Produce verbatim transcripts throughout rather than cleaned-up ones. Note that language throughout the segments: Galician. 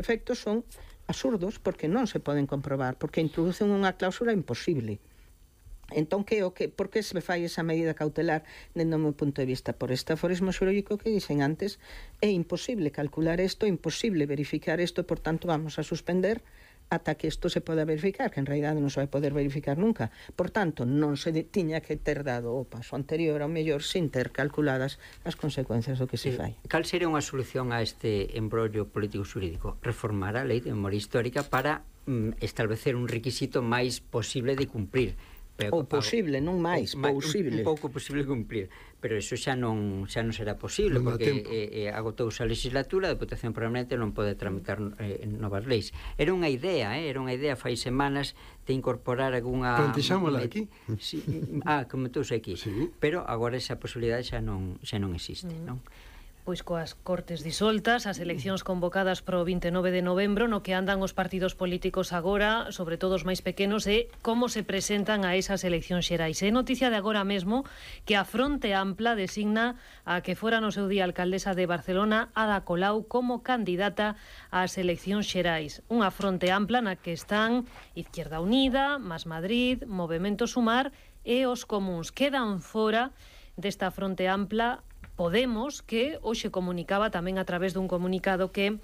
efectos son absurdos porque non se poden comprobar, porque introducen unha cláusula imposible. Entón, que o que, por que se fai esa medida cautelar dentro do meu punto de vista? Por este aforismo xurídico que dicen antes, é imposible calcular isto, é imposible verificar isto, por tanto vamos a suspender ata que isto se poda verificar, que en realidade non se vai poder verificar nunca. Por tanto, non se tiña que ter dado o paso anterior ao mellor sin ter calculadas as consecuencias do que se fai. Cal sería unha solución a este embrollo político xurídico? Reformar a lei de memoria histórica para mm, establecer un requisito máis posible de cumprir. Ou posible, non máis, posible. Un pouco posible cumplir, pero iso xa non xa non será posible, porque eh, eh, agotouse a legislatura, a Deputación Permanente non pode tramitar eh, novas leis. Era unha idea, eh, era unha idea fai semanas de incorporar algunha... Plantexámola aquí. Sí, ah, comentouse aquí. Sí. Pero agora esa posibilidade xa non xa non existe, mm. non? Pois coas Cortes disoltas, as eleccións convocadas para o vinte e nove de novembro, no que andan os partidos políticos agora, sobre todo os máis pequenos, e como se presentan a esas eleccións xerais. É noticia de agora mesmo que a Fronte Ampla designa a que fora no seu día alcaldesa de Barcelona, Ada Colau, como candidata ás eleccións xerais. Unha Fronte Ampla na que están Izquierda Unida, Más Madrid, Movemento Sumar e os comuns. Quedan fora desta Fronte Ampla Podemos, que hoxe comunicaba tamén a través dun comunicado que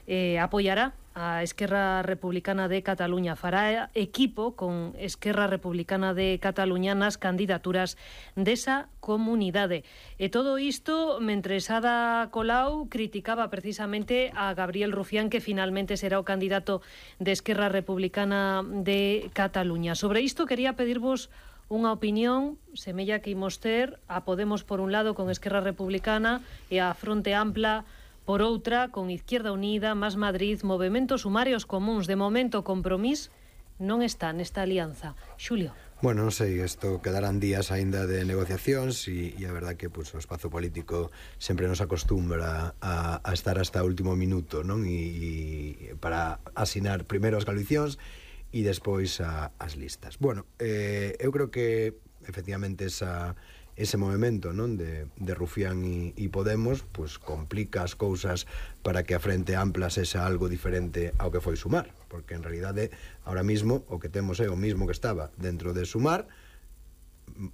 eh, apoiará a Esquerra Republicana de Cataluña, fará equipo con Esquerra Republicana de Cataluña nas candidaturas desa comunidade. E todo isto mentres Ada Colau criticaba precisamente a Gabriel Rufián, que finalmente será o candidato de Esquerra Republicana de Cataluña. Sobre isto quería pedirvos unha opinión, semella que imos ter a Podemos por un lado con Esquerra Republicana e a Fronte Ampla por outra con Izquierda Unida, Más Madrid, Movemento Sumar e os comuns. De momento, Compromís non está nesta alianza. Xulio. Bueno, non sei, isto quedarán días aínda de negociacións e, e a verdad que pues, o espazo político sempre nos acostumbra a, a estar hasta o último minuto, non? E, e para asinar primeiro as coalicións e despois a, as listas. Bueno, eh, eu creo que efectivamente esa, ese movimento, non, de, de Rufián e, e Podemos pues, complica as cousas para que a Frente Ampla sexa algo diferente ao que foi Sumar, porque en realidade ahora mismo o que temos é o mismo que estaba dentro de Sumar,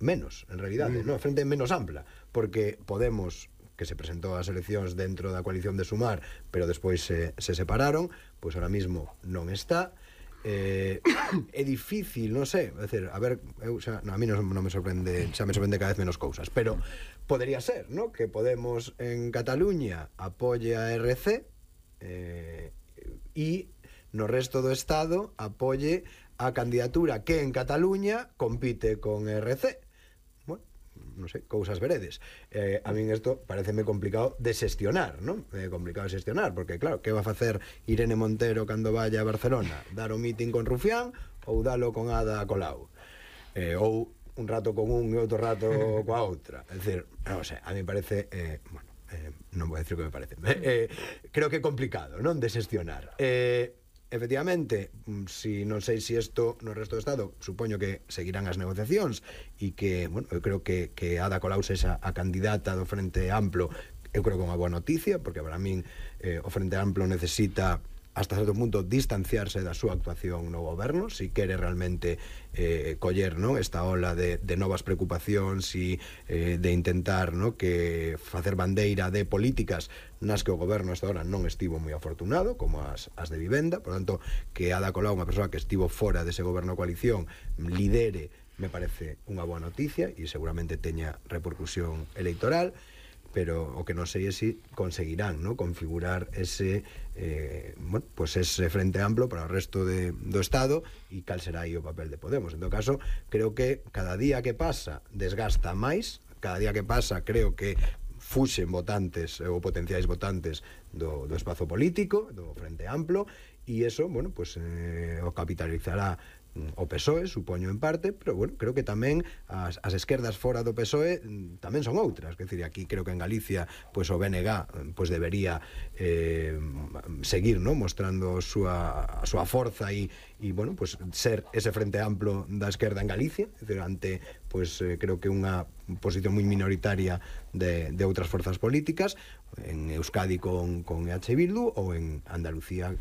menos, en realidade, mm. non, a Frente menos ampla, porque Podemos, que se presentou ás eleccións dentro da coalición de Sumar, pero despois se, se separaron, pois ahora mismo non está. Eh, é difícil, non sei, é dicir, a ver, eu xa, no, a mí non, non me sorprende, xa me sorprende cada vez menos cousas, pero podería ser, ¿no? Que Podemos en Cataluña apoie a R C eh, e no resto do Estado apoie a candidatura que en Cataluña compite con R C. Bueno, non sei, cousas veredes. Eh, a min isto pareceme complicado de xestionar, non? Eh, complicado de xestionar, porque claro, que va a facer Irene Montero cando vaya a Barcelona? Dar o meeting con Rufián ou dalo con Ada Colau? Eh, ou un rato con un e outro rato coa outra? É dicir, non sei, a mí parece, eh, bueno, eh, non vou decir o que me parece, eh, creo que é complicado, non? De xestionar. Eh, efectivamente, si non sei se isto no resto do Estado, supoño que seguirán as negociacións e que, bueno, eu creo que, que Ada Colau sexa a candidata do Frente Amplo, eu creo que é unha boa noticia, porque para min eh, o Frente Amplo necesita hasta certo punto distanciarse da súa actuación no goberno, si quere realmente eh, coller, ¿no?, esta ola de, de novas preocupacións e eh, de intentar, ¿no?, que facer bandeira de políticas nas que o goberno hasta ahora non estivo moi afortunado, como as, as de vivenda. Por tanto, que Ada Colau, unha persoa que estivo fora dese goberno coalición, lidere, me parece unha boa noticia e seguramente teña repercusión electoral, pero o que non sei é se conseguirán, ¿no?, configurar ese eh, bueno, pues ese Frente Amplo para o resto de, do Estado e cal será aí o papel de Podemos. En todo caso, creo que cada día que pasa desgasta máis, cada día que pasa creo que fuxen votantes ou potenciais votantes do, do espazo político, do Frente Amplo, e eso, bueno, pues eh, o capitalizará o P S O E, supoño en parte, pero bueno, creo que tamén as, as esquerdas fora do P S O E tamén son outras, que decir, aquí creo que en Galicia pues o B N G pues debería eh, seguir, ¿no?, mostrando a súa, a súa forza e, e bueno, pues ser ese Frente Amplo da esquerda en Galicia, es decir, ante pues eh, creo que unha posición moi minoritaria de, de outras forzas políticas, en Euskadi con, con E H Bildu ou en Andalucía